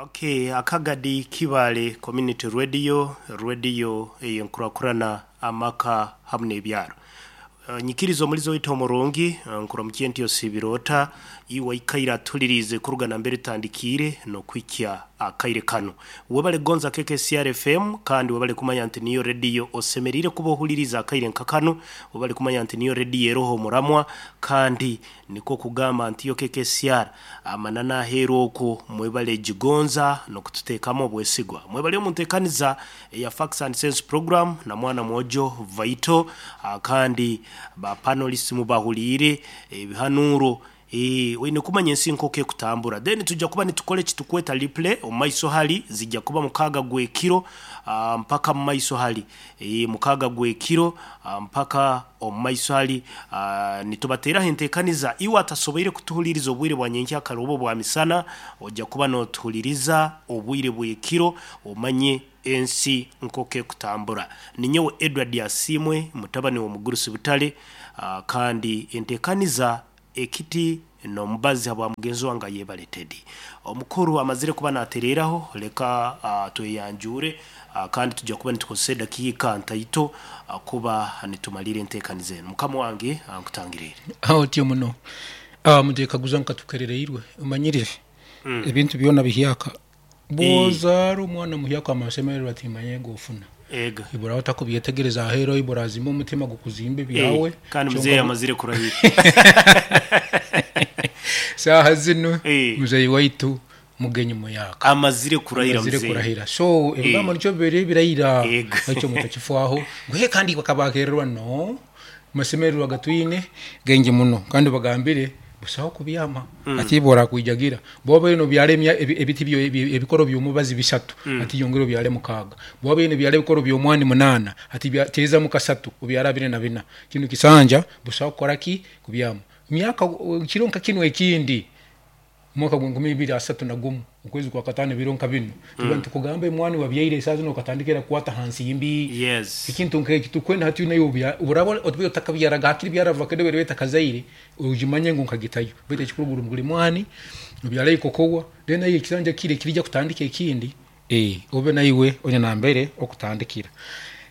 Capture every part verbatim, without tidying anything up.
Okay, Akagadi Kibale Community Radio, radio eyenkurakurana amaka hamwe n'ebyaro. Uh, nyikirizo omulizo waitu omurungi, uh, nkuramukiye nti osibirota iwe ikaira atulirize kuruga nambere tandikire nokwikya akaire kano. Webale gonza K K C R F M, kandi webale kumanya nti niyo radio osemerire kuba ohuliriza akaire nka kano. Webale kumanya nti niyo radio eroho muramwa, kandi niko kugamba nti yo K K C R amanana aheeru okwo. Mwebale gigonza nokututeekamu obwesigwa. Mwebale omunteekaniza eya Facts and Sense program na mwana mwojo Vaito. ah, kandi ba panelists mubahuliire ebihanuro. Eh, oine kumanya ensi nk'oku ekutambura. Then tujja kuba nitukora ekitukweta replay omu maiso hali, zijja kuba mukaaga gw'ekiro ah, mpaka mu maiso hali. Eh, mukaaga gw'ekiro ah, mpaka omu maiso hali ah, nitubateeraho enteekaniza. Iwe atasoboire kutuhuliriza obwire bwa nyenkyakara oba obwa misana, ojja kuba nootuhuliriza obwire bw'ekiro, omanye ensi nk'oku ekutambura. Ninyowe Edward Asiimwe, mutabani w'omugurusi Butale, ah, kandi enteekaniza ekiti n'omubazi habwa mugenzi wange ayebale Teddy. Omukuru amazire kuba natereeraho, leka uh, tweyanjure, uh, kandi tujja kuba nitukozesa edakiika ntaito uh, kuba nitumalira enteekaniza enu. Mukama wange, uh, nkutangiriire. Aho otyo muno. Ah, mutekaguza nkatukerereirwe omanyire ebintu byona bihyaka. Bwozaara omwana muhyaka, amasemererwa timanye gofuna. Ega. Ibura otakubyetegereza ahero, ibura azimba omutima gukuzimba ebyawe. Eh, kandi Kyonka muzeeyi amazire kurahira. Saaha zino Eh. muzeyi waitu mugenyi muyaka. Amazire kurahira. Amazire Muzeeyi. kurahira, so ebigambo nikyo bibiri birahira. Ega. Ekyo mutakifwaho ngwe kandi bakabakererwa no masemererwa gatwine gengi muno, kandi bagambire busaho kubyama ati bora kwijagira boba ino byale emya- ebi- ebiti byo ebi- ebikoro by'omubazi bisatu, ati yongera obyale mukaaga. Boba ino byale ebikoro by'omwani munana, ati bya- teeza mu kasatu, obyala bine na bina. Kino kisanja busaho kukoraki kubyama myaka uh, kiro nka kino ekindi mwaka gwa nkumi ibiri asatu na gumu, okwezi kwa katano, biro nka bino tuba nitukugamba emwani wabyaire esaaha zino okatandikira kukwata hansi yimbi. Yes ekintu nk'eki tukwenda hati nayo uraba otube otakabyaraga hakiri byara avocado bere betakazaire, ugimanye ngu nkagitayo. Baitu ekikuru buli mwani obyala ikokowa, then nayo ekisanja kire kirija kutandika ekindi, eh obe naiwe onya nambere okutandikira.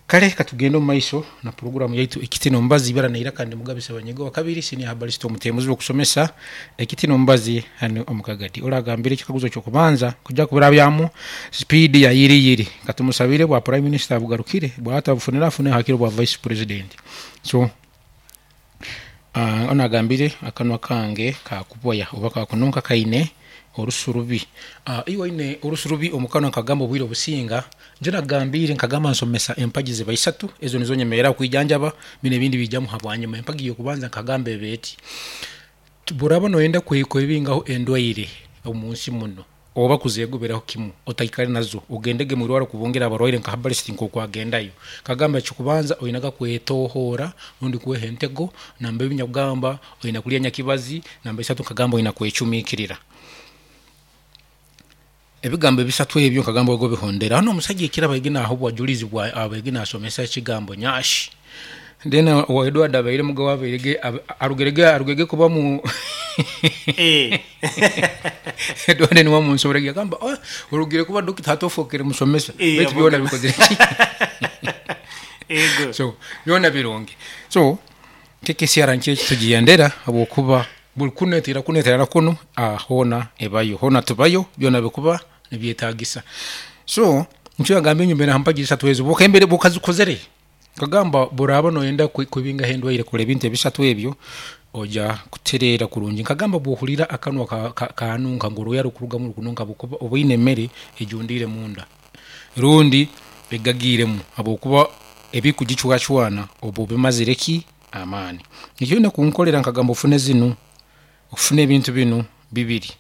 Kale katugenda omu maiso na programu yaitu Ekiti n'Omubazi. Ibara naira kandi Mugabisa Banyego wa kabiri, senior herbalist, omutemuzi w'okusomesa Ekiti n'Omubazi hano omukagadi. Oragambire ekikaguzo kyokubanza kujja kubirabyamu speed ya yiri yiri. Katumusabire bwa prime minister bugarukire, bwata bufunira afune hakiro bwa vice president. So uh, onagambire akanwa kange kakuboya oba kakununka kaine orusurubi. uh, iwe ine orusurubi omukanwa, nkagamba obwire obusinga nje nagambire, nkagamba nsomesa empagi ziba isatu, ezo nizo nyemerera kwijanjaba bino, ebindi bijamu habwanyuma. Empagi yokubanza nkagamba ebeeti buraba noyenda kwe- kwebingaho endwaire omunsi muno oba kuzegoberaho kimu, otaikare nazo, ogendege mwirwaro kubungira abarwaire nka herbalist nk'okwagendayo. Kagamba ekikubanza oinaga kwetohora rundi kweha entego. Namba ebi nyakugamba oina kulya nyakibazi. Namba isatu nkagamba oina kwecumikirira. Ebigambo ebisatu ebyo nkagamba ogo bihondera. Hano omusajja ekira baige naho obwajulizi bwa abaige nasomesa ekigambo nyashi, then wa Edward abaire mugabo abairege arugerege arugege kuba mu Eh. Edward niwe munsoborege agamba, "Oh, orugire kuba dokita hatofokere musomesa." Eh, baitu byona bikozere ki? Ego. So byona birungi. So K K C R nkyo tugigendera habwokuba buli kunetera kunetera kuno, ah, hona ebayo hona tubayo, byona bikuba nibyetagisa. So nkyo yagamba enyuma nampagi isatu ezo bukembere bukazikozere. Kagamba buraba noyenda kwe- kwebingaho endwaire, kora ebintu ebisatu ebyo, oja kutereera kurungi. Nkagamba bwohulira akanwa ka- ka- kanunka ngu oruya rukurugamu rukununka, bukuba obaine emmere ejundiire munda rundi egagiiremu, habwokuba ebikugicwacwana obu bimazire ki amaani. Ekyo olina kunkolera, nkagamba ofune zinu, ofune ebintu binu bibiri.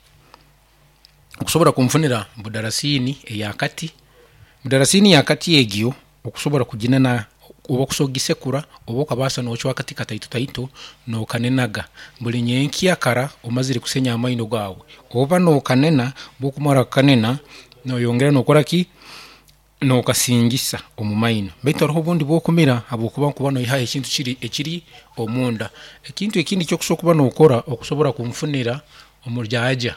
Okusobora kunfunira budarasini eyakati, budarasini yakati egyo okusobora kuginena oba okusobola kugisekura oba okabasa nocwa akati kataito taito nokanenaga buli nyenkya kara omazire kusenya amaino gawe, oba nokanena. Bwokumara kukanena noyongera nokora ki? Nokasingisa omu maino. Baitu haroho obundi bwokumira, habwokuba nkuba noihaho ekintu kiri ekiri omunda. Ekintu ekindi kyokusobola kuba nokora, okusobora kunfunira omuryaja.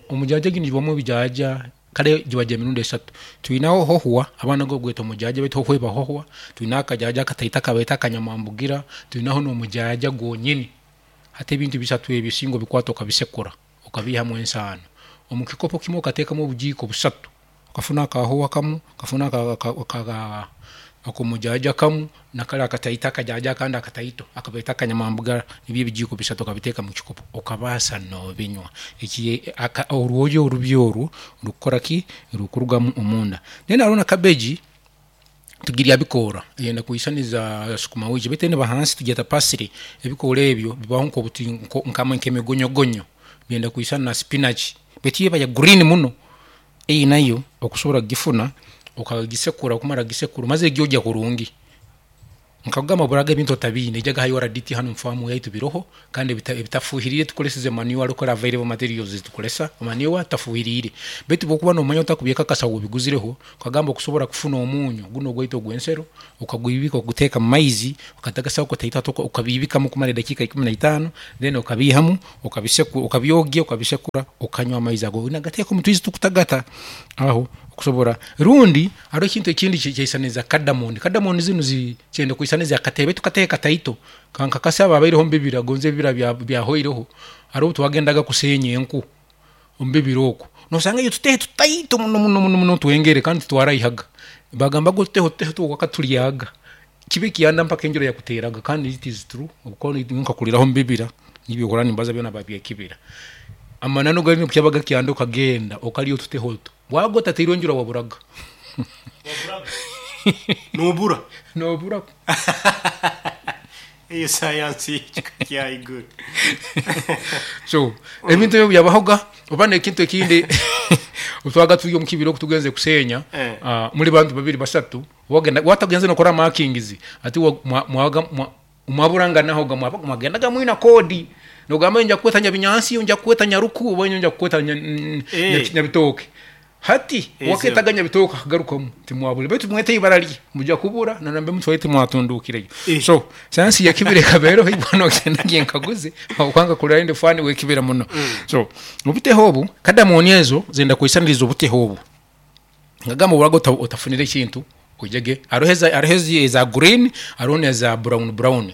Omujaja gini gibamu ebijaja kale gibaja emirundi esatu. Twinaho hohwa, abaana go gweta omujaja, baitu hohwa eba hohwa. Twinaho akajaja akataito akabaita akanyamambugira, twinaho n'omujaja gwonyini. Hati ebintu bisatu ebi singa obikwata okabisekura, okabiihamu ensaano, omu kikopo kimu okateekamu obujiiko busatu, okafuna akahohwa kamu, okafuna ak'omujaja kamu, nakali akataito akajaja akandi akataito akabaita akanyamambuga, nibyo ebijiiko bisatu okabiteeka mu kikopo, okabaasa noobinywa. Eki orwoya orubi oru rukukora ki? Rukurugamu omunda. Then haroho na cabbage, tugirya bikoora, eyenda kwisaniza sukuma wiki, baitu enu eba hansi tugyeta parsley. Ebikoora ebyo bibaho nk'obuti nk'emigonyogonyo, byenda kwisana na spinach, baitu yo eba ya green muno. Eyi nayo okusobora kugifuna, okagisekura, okumara kugisekura, omazire kugyogya kurungi. Nkakugamba oburaga ebintu otabiine, ijaga ha U R D T hanu mu faamu yaitu biroho, kandi ebitafuhiriire tukoleseze manure, rukora available materials ezitukolesa, manure tafuhiriire. Baitu bwokuba nomanya otakubyekakasa wobiguzireho, okagamba okusobora kufuna omunyu gunu ogwaitu ogw'ensero, okagwibika okaguteeka mu maizi, okatagasaho kataito okabiibikamu kumara edakiika ikumi naitaano, then okabiihamu, okabyogya, okabisekura, okanywa amaizi ago, nagateeka omu twizi tukutagata aho okusobora. Rundi haroho ekintu ekindi kyaisaniza cardamom. Cardamom zinu kyenda kwisaniza akatebe, baitu katebe kataito, kankakasa abo abaireho mubibira, gonze ebibira byahoireho, haroho obu twagendaga kuseenya enku omu bibira oku, nosanga otutehe tutaito muno muno muno twengere kandi titwaraihaga. Bagambaga otutehe otutehe wakatulyaga, kibe kyanda mpaka enjura yakuteraga, kandi it is true, habwokuba nyowe nkakuliraho mubibira, nibi ebyokurora nimbaza byona babyekibira. Amananu gali obu kyabaga kyanda okagenda okalya otutehe otu, wabaga otateirwe enjura waburaga. Nobura? Nobura. Eyo sayansi y'ekika kya haiguru. So ebintu ebyo byabahoga. Oba n'ekintu ekindi, otwaga turi omu kibira oku tugenze kuseenya, muli bantu babiri basatu, watagenze nokora markings, hati mwaburanganahoga, mwagendaga mwina code, nogamba nja kukweta Nyabinyansi, nja kukweta Nyaruku, oba nja kukweta Nyabitooke. Hati waketaga Nyabitooke akagarukamu timwabura, baitu mwete ibara lye mujya kubura nanambe mutwaye timwatundukireyo. So sayansi y'ekibira ekaba eroho, ibwe nogenda nkaguze okwanga kurora ndi fan w'ekibira muno. So obutehe obu, cardamom ezo zenda kwisaniriza obutehe obu. Nkagamba oburaga otafunire ekintu, oijege haroho eza green, haroho n'eza brown brown.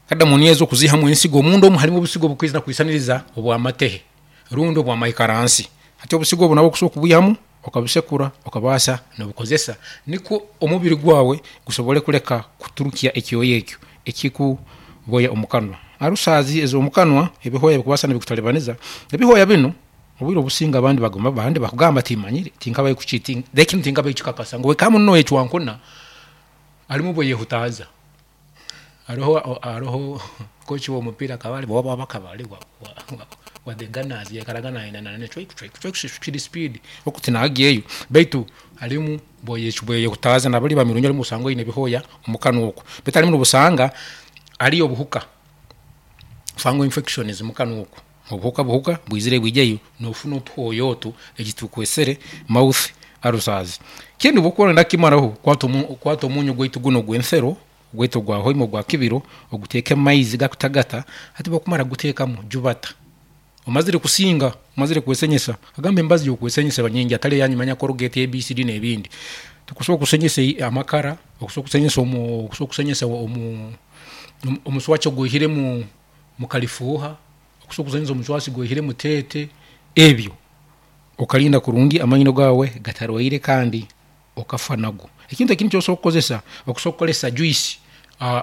Cardamom ezo okuziihamu ensigo, omunda omu harimu obusigo obukwija kwisaniriza obw'amatehe rundi obw'amaikaransi. Hati obusigo obu nabwo okusobola kubwihamu, okabusekura, okabaasa nobukozesa, nikwo omubiri gwawe gusobole kuleka kuturukya ekyoya ekyo ekikuboya omu kanwa. Ulcers ez'omu kanwa, ebihoya bikubaasa nibikutalibaniza, ebihoya binu obwire obusinga abandi abandi bakugamba timanyire, tinkabayo ekinu tinkabakikakasa ngu wekamu noyecwankuna, harimu obu oyehutaaza. Haroho haroho coach w'omupiira akaba ali akaba ali wa the Gunners, yaikaraga kiri speed oku tinagyeyo, baitu harimu bwoyehutaaza nabali bamirungi harimu osanga oine ebihoya omu kanwa oku, baitu harimu nobusanga hariyo obuhuka, fungal infections mu kanwa oku, obuhuka buhuka bwizire bwijayo nofuna otuhoya otu, eki tukwesere mouth ulcers. Kindi obu okuba noyenda kukimaraho, kwata omunyu gwaitu gunu ogw'ensero, gwaitu ogwa hoima ogwa kibiro, oguteeke mu maizi gakutagata. Hati obu okumara kuguteekamu, jubata omazire kusinga, omazire kwesenyesa. Agamba emibazi y'okwesenyesa eba nyingi, hatali eyanyu manya Colgate, A B C D n'ebindi. Tukusobola kusenyesa amakara, okusobola kusenyesa okusobola kusenyesa omuswaki ogwihiremu mu kalifuuha, okusobola kusenyesa omuswaki gwihire mu teete, ebyo okalinda kurungi amaino gaawe gatarwaire kandi okafa nago. Ekintu ekindi ekyosobola kukozesa, okusobola kukozesa juice,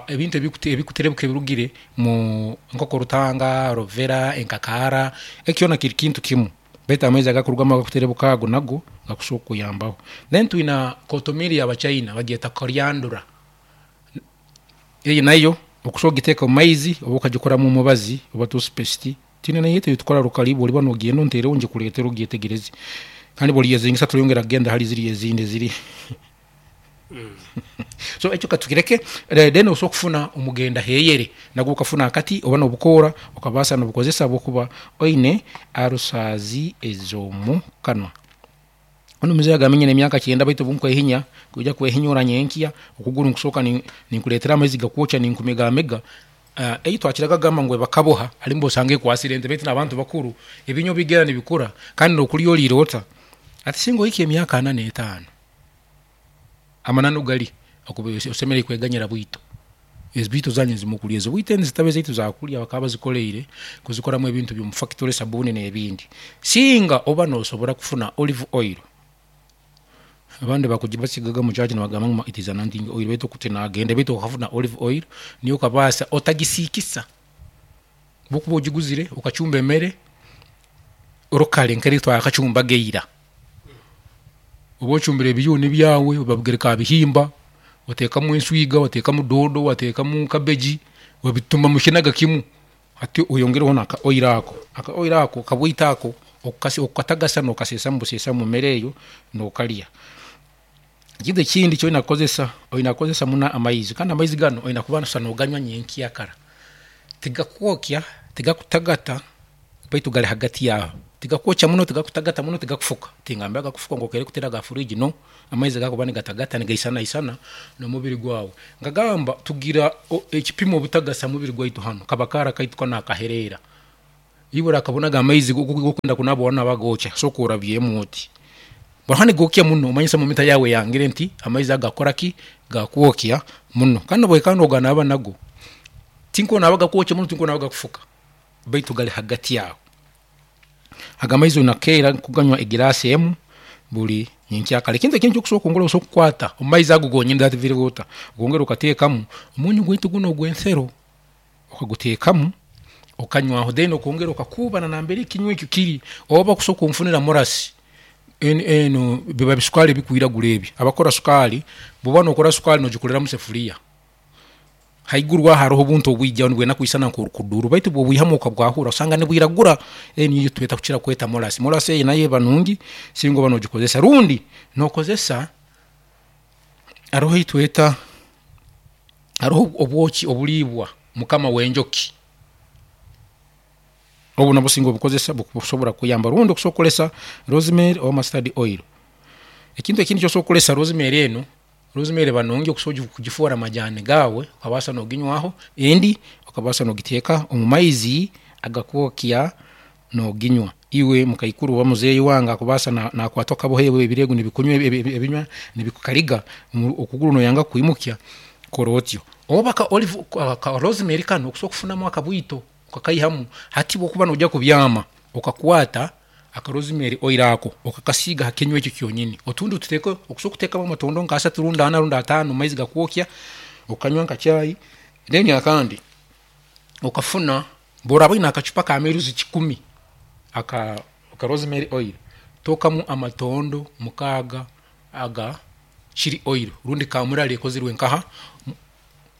ebintu ebikuterebuka ebirugire mu nkokorutanga, aloe vera, enkakaara, eki kyona kiri kintu kimu, baitu amaizi agakurugamu agakuterebuka ago nago gakusobola kukuyambaho. Then twina kotomiri y'Abachina bagyeta coriander, eyi nayo okusobola kugiteeka mu maizi oba okagikoramu omubazi oba toothpaste, twine neyaitu eyitukora rukali, obu oliba nogenda onteereho ngikuleetere ogyetegereze, kandi obu oliyezingisa turayongera kugenda hali ziri ezindi eziri. So ekyo katukireke. Then osobola kufuna omugenda heyere, nagwo okafuna akati oba n'obukoora, okabaasa nobukozesa obu okuba oine ulcers ez'omu kanwa. Onu muzei agamba nyina emyaka kyenda, baitu obu nkwehinya, kwija kwehinyura nyenkya, okuguru nkusooka ninkuleetera amaizi gakwokya ninkumigaamiga. uh, eyi twakiraga gamba ngu bakaboha alimbo osange ekwasire ente, baitu n'abantu bakuru ebinyo bigera nibikura kandi nokulya oliire ota. Ati singa ohika emyaka ana n'etaano, amananu gali okuba osemeriire kweganyira bwito. Ezi bwito zanyu zimukulya, ezi bwito eni zitabe zaitu zakulya, bakaba bazikoleire kuzikoramu ebintu by'omu factory, sabuuni n'ebindi. Singa oba nosobora kufuna olive oil, abandi bakugibasigaga mu church nibagamba ngu it is anointing oil, baitu kuti nagenda, baitu okafuna olive oil niyo okabaasa otagisiikisa. Bwokuba ogiguzire okacumba emere orukale nkeri twakacumbaga ira, oba ocumbire ebiyuni byawe babigereka ha bihimba, oteekamu enswiga, wateekamu doodo, wateekamu cabbage, wabituma mukinaga kimu, hati oyongereho naka oil ako, aka oil ako kabwito ako okatagasa nokaseesamu buseesa mu mere eyo nokalya. Ekintu ekindi ekyoina kukozesa, oina kukozesa muno amaizi, kandi amaizi ganu oina kuba noganywa nyenkyakara. Tigakwokya, tigakutagata, baitu gali hagati yaho, tigakwokya muno, tigakutagata muno, tigakufuka. Tingambira gakufuka ngu okere kutera ga fridge, no amaizi gakuba nigatagata nigaisanaisana n'omubiri gwawe. Nkagamba tugira ekipimo obutagasa mubiri gwaitu hanu kabakara kaitu kanu akahereera. Iwe orakabonaga amaizi gokwenda kunaba wanaba gookya, sooka orabyemu oti bwahani nigokya muno, omanyisa mumita yawe yangire nti amaizi ago gakora ki, gakwokya muno. Kandi nobwoikara noganaba nago, tinkoonaba gakwokya muno, tinkoonaba gakufuka, baitu gali hagati aho. Ago amaizi oina kukeera kuganywa egiraasi emu buli nyenkyakara. Ekintu ekindi ekyokusobola kwongera, osobola kukwata omu maizi ago gonyini that very water, okongera okateekamu omunyu gwaitu gunu ogw'ensero, okaguteekamu okanywaho, then okongera okakuuba nambere ekinywa eki kiri, oba kusobola kunfunira murasi, enu biba bisukaali ebikwiragura ebi. Abakora sukaali, bwoba nokora sukaali nogikolera mu sefuliya, haiguru aho haroho obuntu obwijaho nibwenda kwisana nk'orukuduru, baitu bwobwihamu okabwahura osanga nibwiragura. Eni niyo tweta kukira kweta murasi. Murasi eyi nayo eba nungi singa oba nogikozesa, rundi nokozesa haroho eyitweta, haroho obwoki obuliibwa mukama w'enjoki, obu nabwo singa obukozesa bukusobora kukuyamba, rundi okusobola kukozesa rosemary oba mustard oil. Ekintu ekindi ekyosobola kukozesa rosemary enu, rosemary eba nungi okusobola kugifoora majaani gaawe, okabaasa noginywaho, endi okabaasa nogiteeka omu maizi agakwokya noginywa. Iwe mukaikuru oba muzeeyi wange akubaasa nakwatwa akaboha ebirego nibikunywa ebinywa nibikukaliga okuguru noyanga kwimukya, kora otyo. Oba ka olive ka rosemary kanu okusobola kufunamu akabwito okakaihamu, hati bwokuba noija kubyama okakwata aka rosemary oil ako okakasiiga ha kinywa eki kyonyini, otundi otuteeke, okusobola kuteekamu amatondo nka asatu rundi ana rundi ataano mu maizi gakwokya okanywa nka chai. Then akandi okafuna, bworaba oine akacupa ka mils kikumi aka rosemary oil, tookamu amatondo mukaaga aga chili oil rundi kamurari ekozerwe nkaha,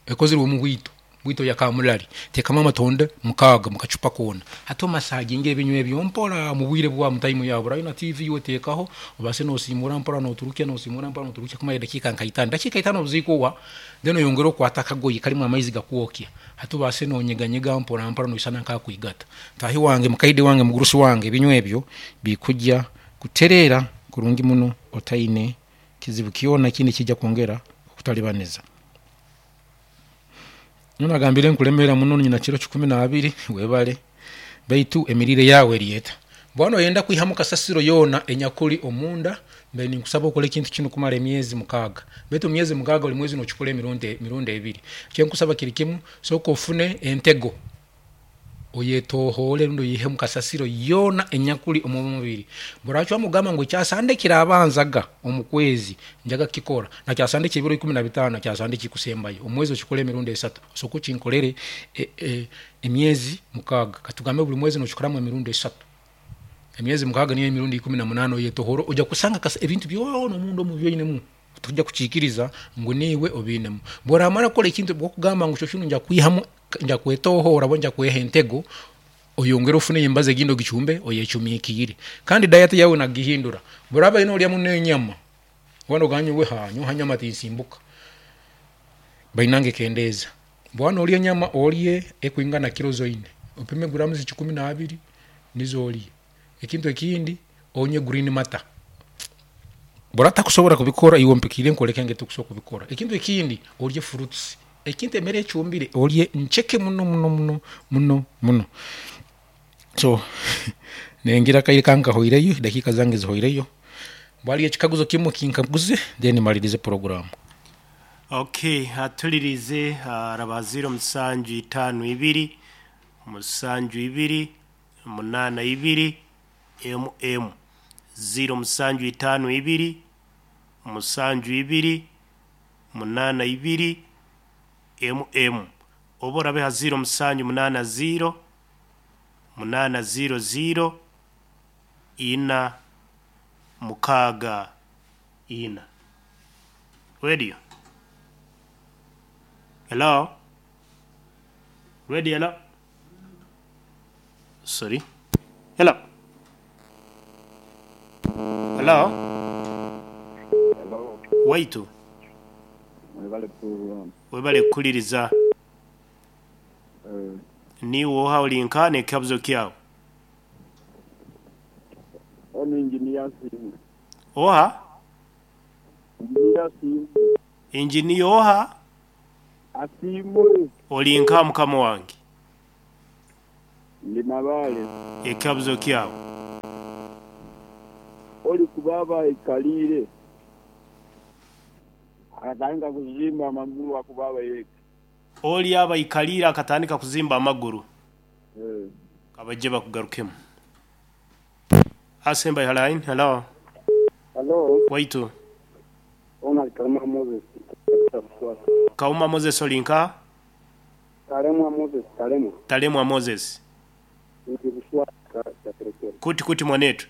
ekozerwe mu bwito, bwito ya kamurari, teekamu amatondo mukaaga mukacupa koona. Hati omasaginge ebinywa ebyo mpora mu bwire bwawe, mu time yawe. Obu oine T V oteekaho obaase nosiimura mpora noturukya, nosiimura mpora noturukya kumara edakiika nka itaano. Dakiika itaano obu zikuhwa, then oyongere okwate akagoye karimu amaizi gakwokya, hati obaase nonyeganyega mpora mpora noisana nk'akwigata. Mutaahi wange, mukaide wange, mugurusi wange, ebinywa ebyo bikujya kutereera kurungi muno otaine kizibu kyona ekindi ekijya kwongera kukutalibaniza. Nyowe nagambire nkulemeera muno, nyina kiro kikumi n'abiri, webale, baitu emiriire yaawe eri eta? Bwoba noyenda kwihamu kasasiro yoona enyakuli omunda, mbaire ninkusaba okole ekintu kinu kumara emyezi mukaaga, baitu emyezi mukaaga buli mwezi nokikora emirundi emirundi ebiri. Ekinkusaba kiri kimu, sooka ofune entego oyetohoole rundi oyiihemu kasasiro yoona enyakuli omu mubiri. Bworacwamu kugamba ngu ekyasande ekirabanzaga omu kwezi njaga kukikora, na kyasande ekyebiro ikumi na bitaano, kyasande ekikusembayo, omwezi okikole emirundi esatu, osooke okinkolere emyezi mukaaga. Katugambe buli mwezi nokikoramu emirundi esatu, emyezi mukaaga niyo emirundi ikumi na munaana oyetohoore, ojja kusanga ebintu byoona omunda omu ebi oinemu tokujya kukiikiriza ngu niiwe obiinemu. Bworamara kukora ekintu bwokugamba ngu kiro kinu nja kwihamu, nja kwetohoora oba nja kweha entego, oyongere ofune embazi egindi ogicumbe oyecumikiire. Kandi diet yawe oina kugihindura. Bworaba nolya muno enyama, bwoba nogamba nyowe nyowe ha nyama tinsimbuka, bainange kendeeza. Bwoba nolya enyama olye ekwingana kiro zoine, opime grams kikumi n'abiri nizo olye. Ekintu ekindi onywe green matter. Bworaba otakusobora kubikora, iwe ompikiire nkwoleke engeri tukusobora kubikora. Ekintu ekindi olye fruits. Ekintu emere ecumbire olye ncheke muno muno muno muno muno. So nengira kaire kankahoireyo, dakika zange zihoireyo. Bwali ekikaguzo kimu kinkaguze then malirize program. Okay, atulirize araba ziro musanju itano ibiri musanju ibiri munana ibiri mm ziro musanju itano ibiri musanju ibiri munana ibiri mm oba orabeha ziro musanju munana ziro munana ziro ziro ina mukaga ina. Radio. Hello? Radio, hello? Sorry. Hello? Hello? Hello. Waitu. Webale program. Webale kuliriza. Eh, Ni woha olinka ne kabzo kyao. ono engineer simu. Oha? Engineer simu. Engineer oha? Asimu. Olinka mukama wange. Ndi mabale. Ekabzo kyao. Oli kubaba ikalire. Akatandika kuzimba amaguru akubaba yeka. Oli aba ikalire akatandika kuzimba amaguru. Eh. Abaje bakugarukemu. Asemba line. Hello. Hello. Waitu. Ona Kauma Moses. Kauma Moses olinka? Talemwa Moses, Talemwa. Talemwa Moses. Kuti kuti mwanetu.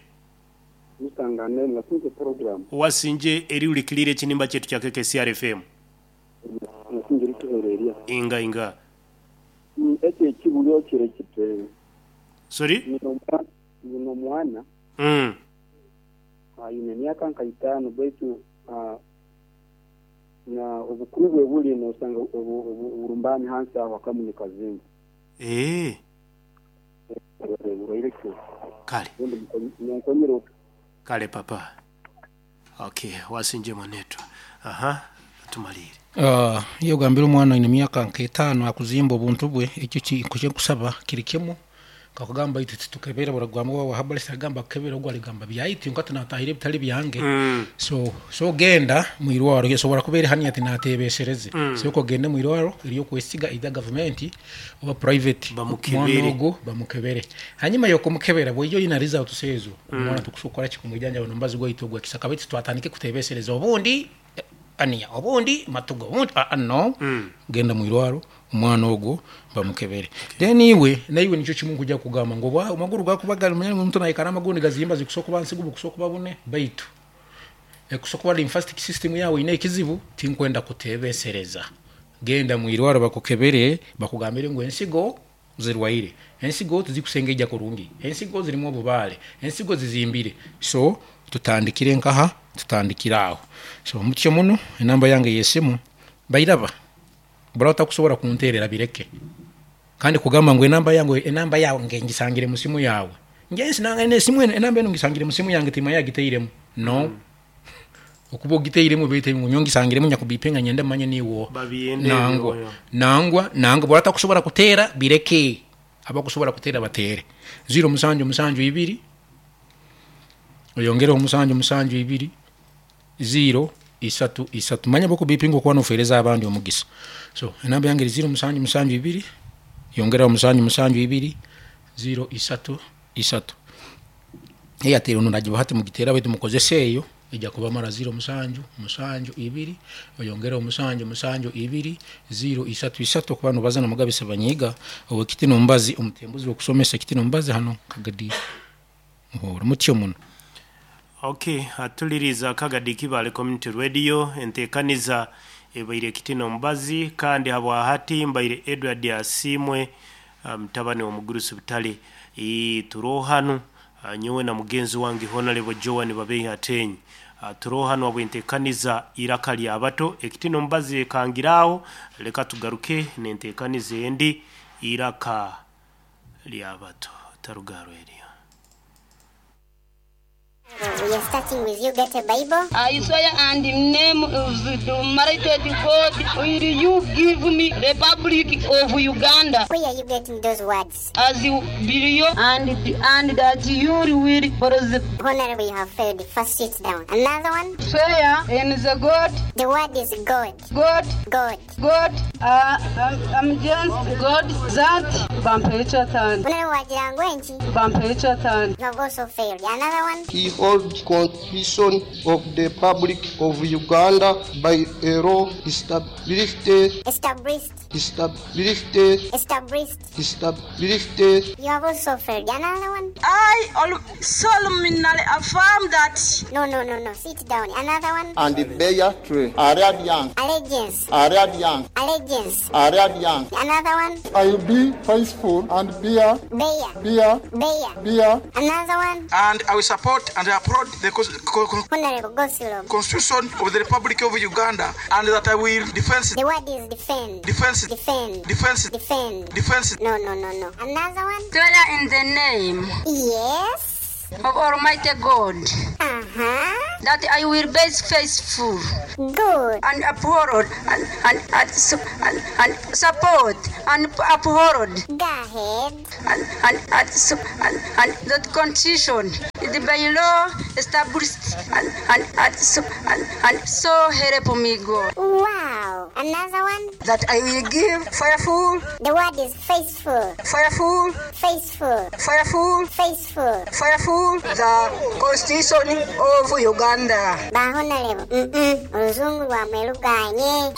Mutangane na sinje program. Wasinje eri ulikilire chinimba chetu cha K K C R F M. Nasinje lituhereria. Inga inga. Mm, eke ekibulyo kire kite. Sorry? Nino mwana. Mm. Ayine myaka nka itano baitu uh, na obukuru bwe buli nosanga oburumbani hansi aho akamunye kazimba. Eh. Kale. Kale papa. Okay, wasinje mwanetu. Aha, tumalire. Ah, iyo gambira omwana ine myaka nka itano akuzimba obuntu bwe ekyo kye nkusaba kiri kimu kakugamba itu tukebera buragwamo wa habali sagamba kebera ogwa ligamba byaitu nkati natahire bitali byange. Mm. So so genda mwirwaro yesobora kubera hani ati natebesereze. Mm. So ko gende mwirwaro eriyo kwesiga ida government oba private bamukebere ogo bamukebere hanyuma yo kumukebera bweyo ina result sezo Mm. omwana tukusokora kikumujanja bano mbazi gwa gwa kisaka baitu twatandike kutebesereza obundi ania obundi matugo obundi ah, no. Mm. Genda mwirwaro omwana ogwo bamukebere. Okay. Then iwe naiwe nicho kimu kujja kugamba ngo bwa amaguru gakubagala munyanya omuntu naikara amagundi gazimba zikusokuba nsigu bukusokuba bune baitu ekusokuba lymphatic system yawe ine ekizibu tinkwenda kutebesereza. Genda mwirwaro bakukebere bakugambire ngo ensigo zirwaire, ensigo tizikusengeja kurungi, ensigo zirimu obubale, ensigo zizimbire. So tutandikire nkaha tutandikira aho. So mutyo muno enamba yange yesimu bairaba burata kusobora kunterera bireke kandi kugamba ngo enamba yange enamba yawe ngisangire musimu yawe ngensi nanga ene simu enamba eno ngisangire musimu yange tima yagiteiremu no. Mm. Okubo giteiremu bete ngo nyongisangire munya kubipenga nyende manye niwo babiende nangwa nangwa nangwa burata kusobora kutera bireke abakusobora kutera batere zero musanju musanju ibiri oyongera omusanju musanju ibiri zero isatu isatu manya boko bipingo kwa nofereza abandi omugisa. So enamba yange zero musanju musanju ibiri yongera omusanju musanju ibiri zero isatu isatu Airtel ono najiba hati mugitera wetu mukozese eyo ejja kuba mara zero musanju musanju ibiri oyongera omusanju musanju ibiri zero isatu isatu kuba no bazana mugabisa banyiga owe kitino mbazi omutembuzi okusomesa kitino mbazi hano kagadi muhoro mutyo muno. Okay, atuliriza Kagadi Kibale Community Radio entekaniza ebaire kitino mbazi kandi habwa hati mbaire Edward Asimwe mtabane um, wa mugurusi butale e turohanu nyowe na mugenzi wange Honorable Joan Babeyi Atenyi turohanu abwentekaniza iraka lya abato ekitino mbazi kangirao leka tugaruke nentekaniza endi iraka lya abato tarugaro eriyo. Starting with you, get a Bible. I swear and in name of the Almighty God, will you give me Republic of Uganda Where are you getting those words? as you believe and and that you will preserve Honorable, you have failed. First, sit down. Another one. swear in the God, The word is God. God, God. God, uh, I'm, I'm just God that Bampecha Honorable Wajirangwenchi, Bampecha you have also failed. Another one. He holds Constitution of the Republic of Uganda by a law established, Established. established, Established. established. You have also failed. Another one. I solemnly affirm that No, no, no, no. Sit down. Another one. And bear true Arabian, Allegiance. Arabian, Allegiance. Arabian. Another one. I will be faithful and bear, Bear. bear, Bear. bear. Another one. And I will support and uphold the cons- co- co- Honorable Gosilom. Constitution of the Republic of Uganda and that I will defend, The word is defend. defend, Defend. defend, Defend. defend. No, no, no, no. Another one. swear in the name Yes. of Almighty God Uh huh. that I will be faithful Good. and uphold and and and, su- and, and support and uphold Go ahead. and and and, su- and, and the constitution the by law established and and and, su- and, and so help me God Wow. Another one. that I will give faithful The word is faithful. faithful Faithful. faithful Faithful. faithful the constitution of Uganda. Ba honorable. Mm-mm. Oluzungu lwamwe luganye.